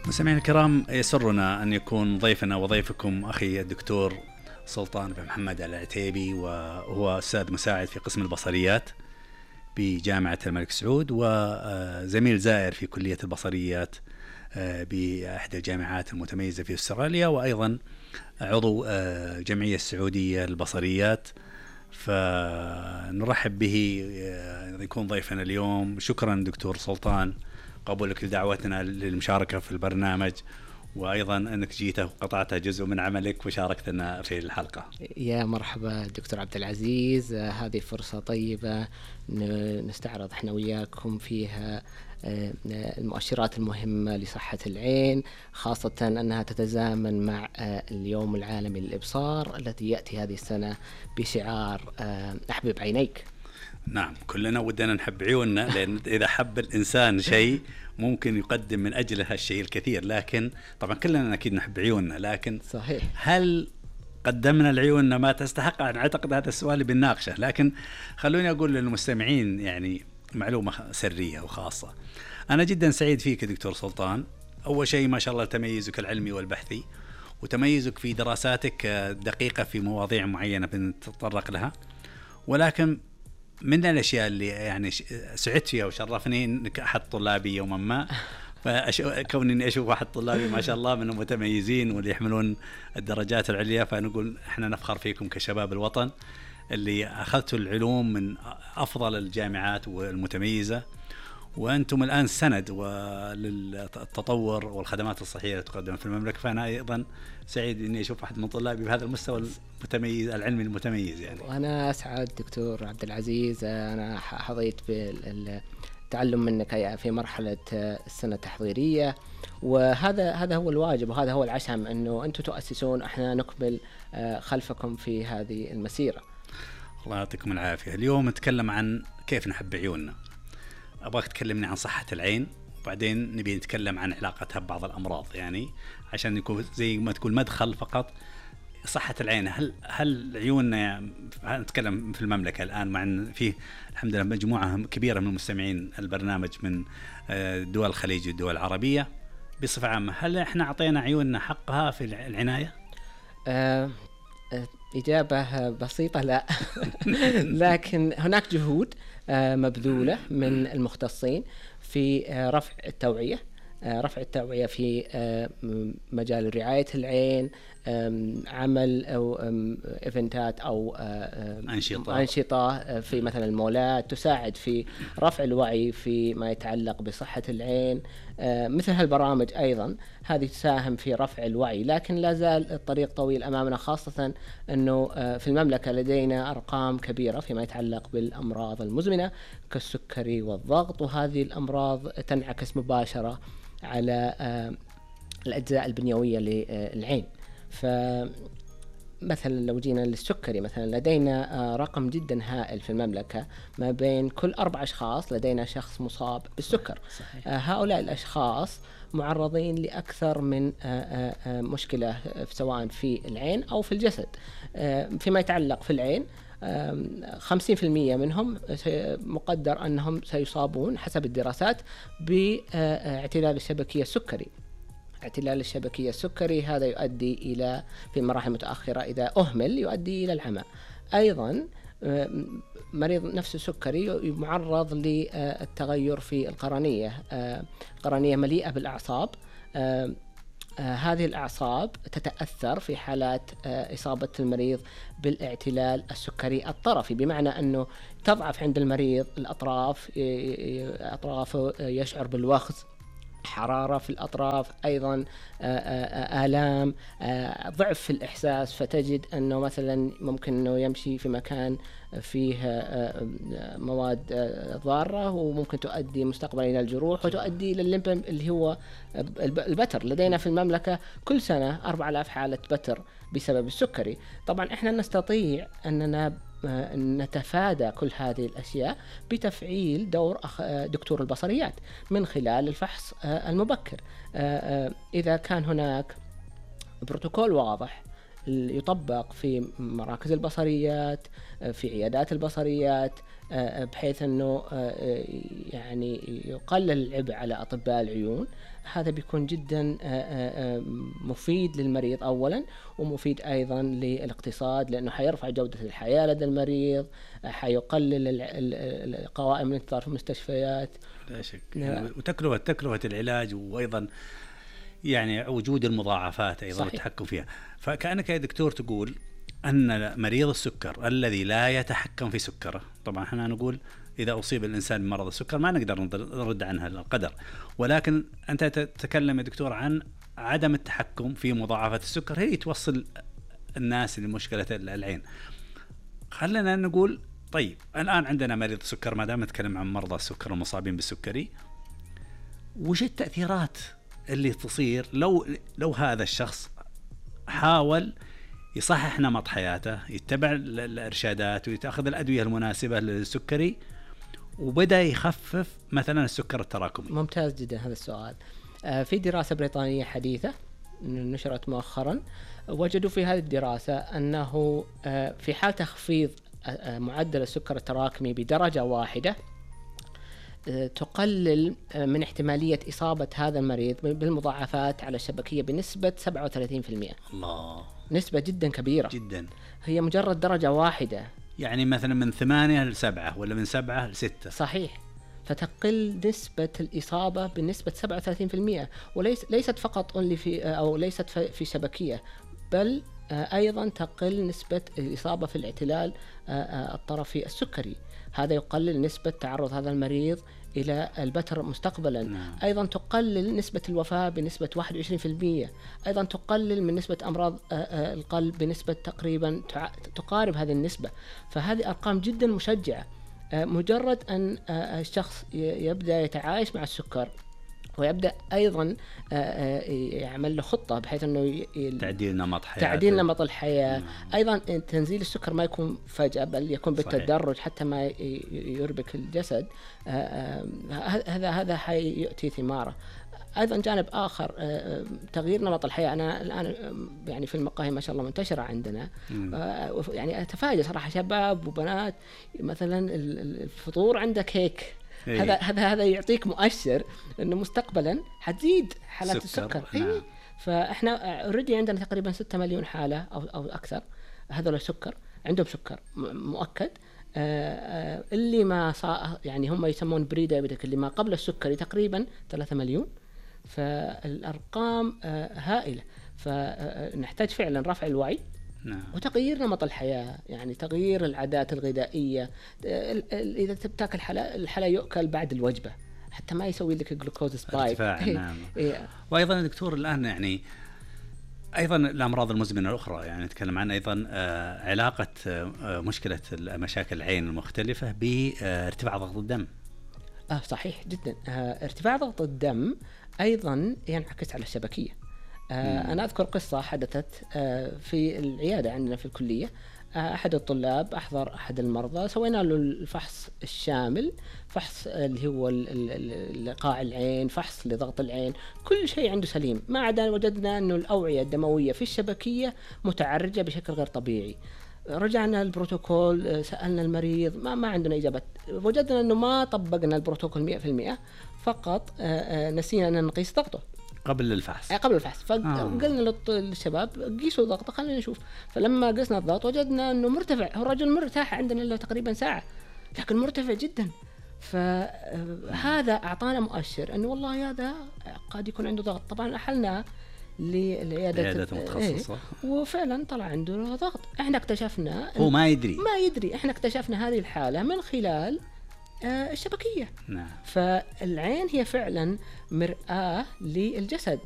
مستمعينا الكرام، يسرنا أن يكون ضيفنا وضيفكم أخي الدكتور سلطان بن محمد العتيبي، وهو أستاذ مساعد في قسم البصريات بجامعة الملك سعود، وزميل زائر في كلية البصريات بأحد الجامعات المتميزة في أستراليا، وأيضا عضو الجمعية السعودية للبصريات. فنرحب به يكون ضيفنا اليوم. شكرا دكتور سلطان قبولك لدعوتنا للمشاركة في البرنامج، وأيضا أنك جيت وقطعت جزء من عملك وشاركتنا في الحلقة. يا مرحبا دكتور عبد العزيز، هذه فرصة طيبة نستعرض احنا وياكم فيها المؤشرات المهمة لصحة العين، خاصة أنها تتزامن مع اليوم العالمي للإبصار الذي يأتي هذه السنة بشعار أحبب عينيك. نعم، كلنا ودنا نحب عيوننا، لأن إذا حب الإنسان شيء ممكن يقدم من أجله هالشيء الكثير، لكن طبعا كلنا أكيد نحب عيوننا، لكن صحيح، هل قدمنا لعيوننا ما تستحق؟ أنا أعتقد هذا السؤال بنناقشه، لكن خلوني أقول للمستمعين يعني معلومة سرية وخاصة. أنا جدا سعيد فيك دكتور سلطان. أول شيء ما شاء الله تميزك العلمي والبحثي، وتميزك في دراساتك دقيقة في مواضيع معينة بنتطرق لها، ولكن من الأشياء اللي يعني سعدت فيها وشرفني إنك أحد طلابي يوما ما، كوني أشوف أحد طلابي ما شاء الله من المتميزين واللي يحملون الدرجات العليا، فنقول إحنا نفخر فيكم كشباب الوطن اللي أخذتوا العلوم من أفضل الجامعات والمتميزة، وأنتم الآن سند للتطور والخدمات الصحية اللي تقدم في المملكة. فأنا أيضا سعيد إني أشوف أحد من طلابي بهذا المستوى المتميز العلمي المتميز يعني. وأنا أسعد دكتور عبد العزيز، أنا حظيت بالتعلم منك في مرحلة السنة التحضيرية، وهذا هو الواجب وهذا هو العشم، أنه أنتم تؤسسون، إحنا نكمل خلفكم في هذه المسيرة. الله يعطيكم العافية. اليوم نتكلم عن كيف نحب عيوننا. أبغاك تكلمني عن صحة العين، وبعدين نبي نتكلم عن علاقتها ببعض الأمراض، يعني عشان يكون زي ما تقول مدخل فقط. صحة العين، هل عيوننا يعني نتكلم في المملكة الآن، مع أن فيه الحمد لله مجموعة كبيرة من مستمعين البرنامج من دول الخليج والدول العربية بصفة عامة، هل إحنا أعطينا عيوننا حقها في العناية؟ إجابة بسيطة لا. لكن هناك جهود مبذولة من المختصين في رفع التوعية في مجال رعاية العين، عمل أو إيفنتات أو أنشطة في مثلا المولات تساعد في رفع الوعي في ما يتعلق بصحة العين. مثل هالبرامج أيضا هذه تساهم في رفع الوعي، لكن لا زال الطريق طويل أمامنا، خاصة أنه في المملكة لدينا أرقام كبيرة فيما يتعلق بالأمراض المزمنة كالسكري والضغط، وهذه الأمراض تنعكس مباشرة على الأجزاء البنيوية للعين. فمثلا لو جينا للسكري مثلا، لدينا رقم جدا هائل في المملكة، ما بين كل 4 أشخاص لدينا شخص مصاب بالسكر. هؤلاء الأشخاص معرضين لأكثر من مشكلة سواء في العين أو في الجسد. فيما يتعلق في العين 50% منهم مقدر أنهم سيصابون حسب الدراسات باعتلال الشبكية السكري. اعتلال الشبكية السكري هذا يؤدي إلى في مراحل متأخرة إذا أهمل يؤدي إلى العمى. أيضا مريض نفس السكري معرض للتغير في القرنية، قرنية مليئة بالأعصاب. هذه الأعصاب تتأثر في حالات إصابة المريض بالاعتلال السكري الطرفي، بمعنى أنه تضعف عند المريض الأطراف، أطرافه يشعر بالوخز، حرارة في الأطراف، أيضا آلام، ضعف في الإحساس، فتجد أنه مثلا ممكن أنه يمشي في مكان فيه مواد ضارة وممكن تؤدي مستقبلا إلى الجروح وتؤدي إلى الليمب اللي هو البتر. لدينا في المملكة كل سنة 4000 حالة بتر بسبب السكري. طبعا إحنا نستطيع أننا نتفادى كل هذه الأشياء بتفعيل دور دكتور البصريات من خلال الفحص المبكر. إذا كان هناك بروتوكول واضح يطبق في مراكز البصريات، في عيادات البصريات، بحيث أنه يعني يقلل العبء على أطباء العيون. هذا بيكون جدا مفيد للمريض أولا، ومفيد أيضا للاقتصاد، لأنه حيرفع جودة الحياة لدى المريض، حيقلل قوائم الانتظار في المستشفيات. لا شك. وتكلفة العلاج، وأيضا يعني وجود المضاعفات أيضا والتحكم فيها. فكأنك يا دكتور تقول أن مريض السكر الذي لا يتحكم في سكره، طبعا احنا نقول إذا أصيب الإنسان بمرض السكر ما نقدر نرد عنها القدر، ولكن أنت تتكلم يا دكتور عن عدم التحكم في مضاعفات السكر هي توصل الناس لمشكلة العين. خلينا نقول طيب الآن عندنا مريض سكر، ما دام نتكلم عن مرضى السكر المصابين بالسكري، وش التأثيرات اللي تصير لو هذا الشخص حاول يصحح نمط حياته، يتبع الإرشادات ويتأخذ الأدوية المناسبة للسكري، وبدأ يخفف مثلا السكر التراكمي؟ ممتاز جدا هذا السؤال. في دراسة بريطانية حديثة نشرت مؤخرا، وجدوا في هذه الدراسة أنه في حال تخفيض معدل السكر التراكمي بدرجة واحدة تقلل من احتمالية إصابة هذا المريض بالمضاعفات على الشبكية بنسبة 37%. الله، نسبة جدا كبيرة جدا. هي مجرد درجة واحدة، يعني مثلا من 8 ل 7 ولا من 7 ل 6. صحيح. فتقل نسبة الإصابة بنسبة 37%، وليست فقط أو ليست في شبكية، بل أيضا تقل نسبة الإصابة في الاعتلال الطرفي السكري. هذا يقلل نسبة تعرض هذا المريض إلى البتر مستقبلا. أيضا تقلل نسبة الوفاة بنسبة 21%. أيضا تقلل من نسبة أمراض القلب بنسبة تقريبا تقارب هذه النسبة. فهذه أرقام جدا مشجعة. مجرد أن الشخص يبدأ يتعايش مع السكر، ويبدأ أيضا يعمل له خطة بحيث أنه تعديل نمط الحياة. أيضا تنزيل السكر ما يكون فجأة، بل يكون بالتدرج حتى ما يربك الجسد. هذا حيؤتي ثماره. أيضا جانب آخر، تغيير نمط الحياة. أنا الآن يعني في المقاهي ما شاء الله منتشرة عندنا، يعني أتفاجأ صراحة شباب وبنات مثلا الفطور عنده كيك. هذا يعطيك مؤشر انه مستقبلا حتزيد حالات السكر. نعم. فاحنا اوريدي عندنا تقريبا 6 مليون حاله او اكثر، هذول السكر عندهم سكر مؤكد. اللي ما يعني هم يسمون بري دايابيتك، اللي ما قبل السكري تقريبا 3 مليون. فالارقام هائله. فنحتاج فعلا رفع الوعي. نعم. وتغيير نمط الحياة، يعني تغيير العادات الغذائية. إذا تاكل الحلا يؤكل بعد الوجبة حتى ما يسوي لك جلوكوز سبايك. نعم. وأيضا يا دكتور الآن يعني أيضا الأمراض المزمنة الأخرى، يعني نتكلم عن أيضا علاقة مشكلة مشاكل العين المختلفة بارتفاع ضغط الدم. صحيح جدا. ارتفاع ضغط الدم أيضا ينعكس على الشبكية. أنا أذكر قصة حدثت في العيادة عندنا في الكلية. أحد الطلاب أحضر أحد المرضى، سوينا له الفحص الشامل، فحص اللي هو لقاع العين، فحص لضغط العين، كل شيء عنده سليم، ما عدا وجدنا أنه الأوعية الدموية في الشبكية متعرجة بشكل غير طبيعي. رجعنا البروتوكول، سألنا المريض، ما عندنا إجابة. وجدنا أنه ما طبقنا البروتوكول 100%، فقط نسينا أن نقيس ضغطه قبل الفحص. فقلنا للشباب قيسوا ضغطه خلينا نشوف. فلما قسنا الضغط وجدنا انه مرتفع. هو الرجل مرتاح عندنا له تقريبا ساعة، لكن مرتفع جدا. فهذا اعطانا مؤشر انه والله هذا قد يكون عنده ضغط. طبعا احلنا للعيادة متخصصة، وفعلا طلع عنده ضغط. احنا اكتشفنا هو ما يدري. احنا اكتشفنا هذه الحالة من خلال الشبكية. نعم. فالعين هي فعلا مرآة للجسد.